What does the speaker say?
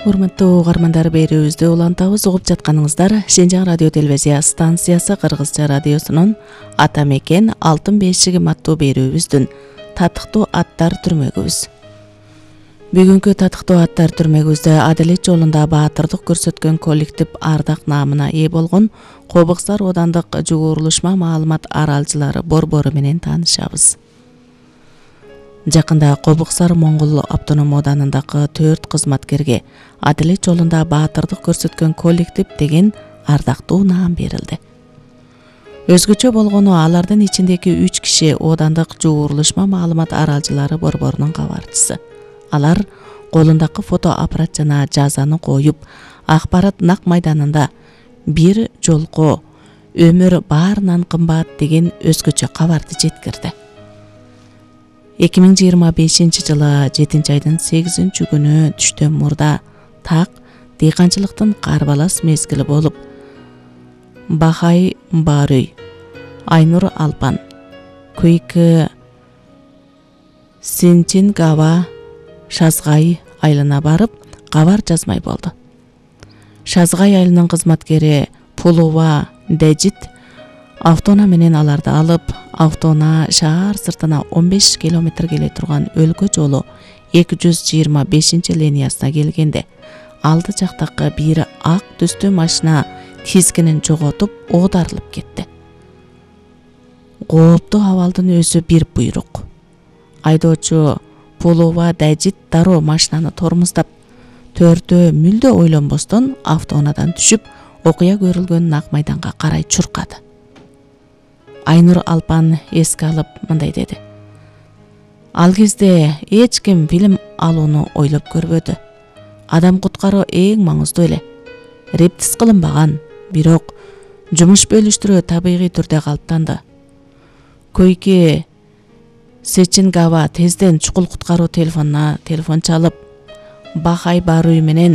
Урматтуу угармандар, берүүбүздү улантабыз. Угуп жатканыңыздар Шенжаң радио телевизия станциясы Кыргызча радиосунун Ата мекен алтын бешигим аттуу берүүбүздүн татыктуу аттар түрмөгүбүз. Бүгүнкү татыктуу аттар түрмөгүбүздө адилет жолунда баатырдык көрсөткөн коллектив ардак наамына ээ болгон Кобуксар оодандык жугурулушма маалымат аралчылары борбору менен таанышабыз. Жакында Кобуксар Моңгол автоном ооданындагы 4 кызматкерге адилет жолунда баатырдык көрсөткөн коллектив деген ардактуу наам берилди. Өзгөчө болгону алардын ичиндеги 3 киши оодандык жугурулушма маалымат аралчылары борборунун кабарчысы. Алар колундагы фото аппарат жана жазаны коюп, акпарат нак майданында бир жолко өмүр баарынан кымбат деген өзгөчө кабарды жеткирди. 2025-жылы 7-айдын 8-күнү түштөн мурда так дыйканчылыктын карбалас мезгили болуп, Бахай Баруй, Айнур Алпан, Көйкү Синчингава Шазгай айылына барып, кабар жазмай болду. Шазгай айылынын кызматкери Пулова Дежит автоуна менен аларды алып, автоуна шаар сыртына 15 километр келе турган өлкө жолу 225-линиясына келгенде, алды жактагы бир ак түстүү машина тизгинин жоготуп, оодарылып кетти. Кооптуу абалдын өзү бир буйрук. Айдоочу Пулова Дежит дароо машинаны тормуздап, төрдө мүлдө ойлонбостон автоунадан түшүп, окуя көрүлгөн нак майданга карай чуркады. Айнур Алпан эске алып мындай деди: Ал кезде эч ким фильм алууну ойлоп көрбөдү. Адам куткаруу эң маңыздуу эле. Рептис кылынбаган, бирок жумуш бөлүштүрүү табигый түрдө калыптанды. Көйкү Сечингава тезден чукул куткаруу телефон чалып, Бахай Баруй менен